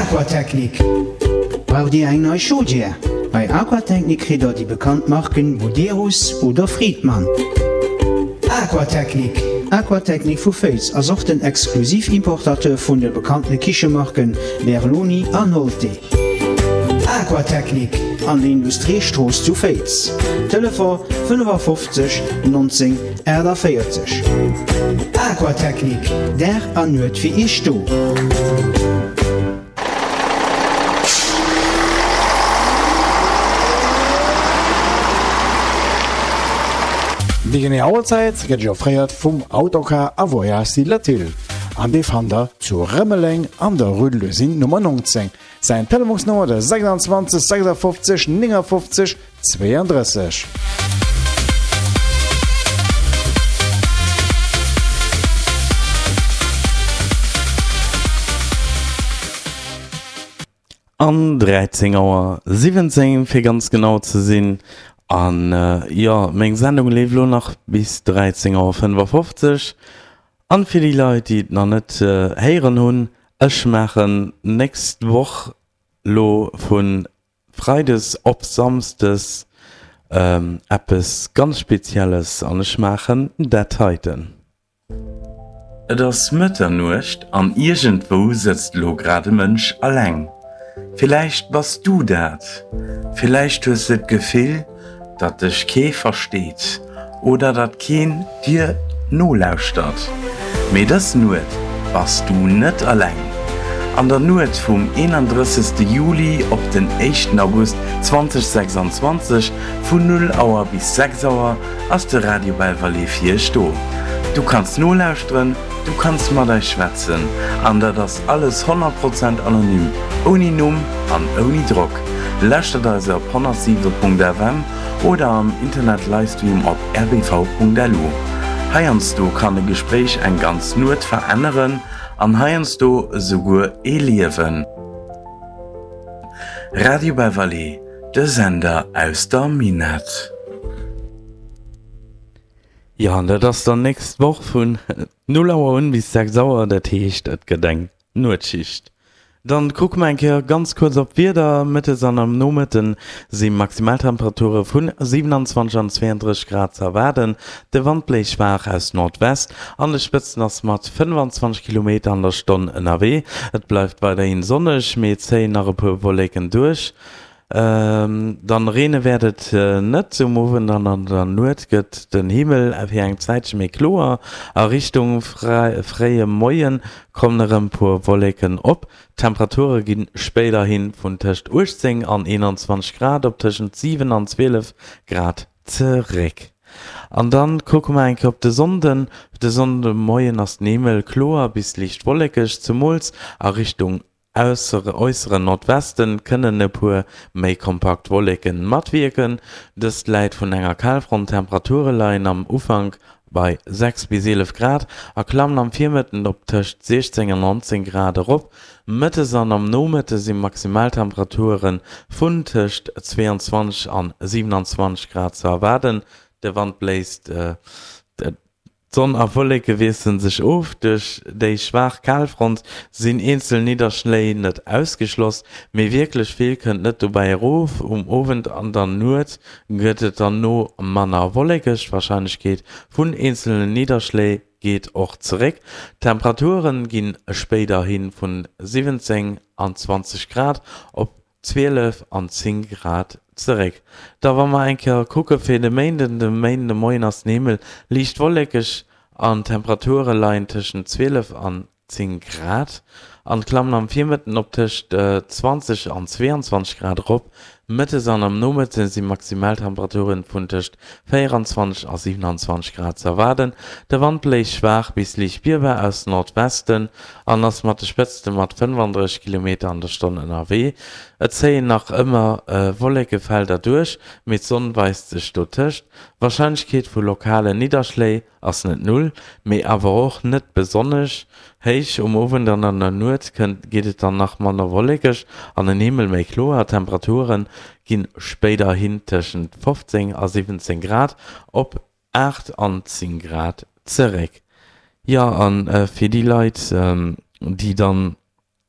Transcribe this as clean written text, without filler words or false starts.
Aquatechnik. Braucht Dir eng nei Chaudière? Bei Aquatechnik kritt der déi bekannt Marken Buderus oder Friedmann. Aquatechnik. Aquatechnik vu Féiz ass och den Exklusiv-Importateur vun de bekannte Kichemarken Berloni an Nolte. Aquatechnik an der Industriestrooss zu Féiz. Telefon 55 19 48. Aquatechnik, Dag an Nuet fir Iech do. Déi genee Auerzäit gëtt Iech offréiert vum Autocar a Voyage Latil an dee fannt der zu Rëmeleng an der Rue de l'Usine Nummer 19. Säin Telefonsnummer de 26 56 59 32. An 13 Auer 17 fir ganz genau ze sinn. An jo, meng Sendung leeft elo nach bis 13 Auer 55. An fir déi Leit déi et nach net héieren hunn, ech maachen nächst Woch lo vun Freides op Samsdes eppes ganz Spezielles an ech maachen dat heiten. Et ass Mëtternuecht an iergendwou sëtzt elo grad e Mënsch alleng. Villäicht bass du dat. Villäicht hues de d'Gefill, datt dech kee versteet oder datt keen dir nolauschtert. Mee dës Nuet bass du net alleng. An der Nuet vum 31. Juli op den éischten August 2026 vun 0 Auer bis 6 Auer ass de Radio Belval fir iech do. Du kanns nolauschteren, du kanns mat eis schwätzen an dat ass alles 100 Prozent anonym, ouni Numm an ouni Drock. Lauschtert eis op 107.fm oder am Internet Livestream op rbv.lu. Heiansdo kann e Gespréich eng ganz Nuet veränneren an heiansdo esouguer ee Liewen. Radio Beverly, de Sender aus der Minett. Jo, an dat ass dann nächst Woch vun 0 Auer un bis 6 Auer, dat heescht et gëtt eng Nuetsschicht. Dann kucke mer eng Kéier ganz kuerz op d'Wieder. Mëttes an am Nomëtte si Maximaltemperature vun 27 an 32 Grad ze erwaarden. De Wand bléist schwaach aus Nordwest, an de Spëtzen ass mat 25 Kilometer an der Stonn ënnerwee. Et bleift weiderhi sonneg, mee et zéien nach e puer Wolleken duerch. Dann reene wäert et net. Um Owend an an der Nuet gëtt den Himmel fir eng Zäitche méi kloer. A Richtung fréie Moie kommen erëm puer Wolleken op. D'Temperature gi spéiderhi vun tëscht 18 an 21 Grad op tëschent 7 an 12 Grad zeréck. An dann kucke mer eng Kéier op de Sonnden. De Sonndemoien ass den Himmel kloer bis liicht wollekeg, zemools a Richtung Äusseren Nordwesten kënnen e puer méi kompakt Wolleken matwierken. Dëst läit vun enger Kalfront. D'Temperature leien am Ufank bei 6 bis 11 Grad a klammen am Virmëtten op tëscht 16 an 19 Grad erop. Mëttes an am Nomëtte si Maximaltemperature vun tëscht 22 an 27 Grad ze erwaarden. De Wand bléist. D'Sonn a Wolleke wiessele sech of. Duerch déi schwaach Kalfront sinn eenzel Nidderschléi net ausgeschloss, mee wierklech vill kënnt net dobäi erof. Um Owend an der Nuet gëtt et dann no manner wollekeg, d'Warscheinlechkeet vun eenzelne Nidderschléi geet och zeréck. D'Temperature ginn spéiderhi vun 17 an 20 Grad op 12 an 10 Grad zeréck. Da wa mer eng Kéier kucke fir de Méinden, de Méinden de Moien ass den Himmel liicht wollekeg an d'Temperature leien tëschent 12 an 10 Grad an klammen am Virmëtten op tëscht 20 an 22 Grad erop. Mëttes an am Nomëtte si Maximaltemperaturen vun tëscht 24 a 27 Grad ze erwaarden. De Wand bléist schwaach bis liicht spierbar aus Nordwesten an ass mat de Spëtzte mat 35 Kilometer an der Stonn ënnerwee. Et zéien nach ëmmer Wollekefelder duerch, mee d'Sonn weist sech dotëscht. D'Warscheinlechkeet vu lokale Nidderschléi Ass net null, mee awer och net besonnesch héich. Um Owend an an der Nuet kënnt geet et dann nach manner wollekeg an den Himmel méi kloer. D'Temperature ginn spéiderhin tëschent 15 a 17 Grad op 8 an 10 Grad zeréck. Jo, a fir déi Leit, déi dann.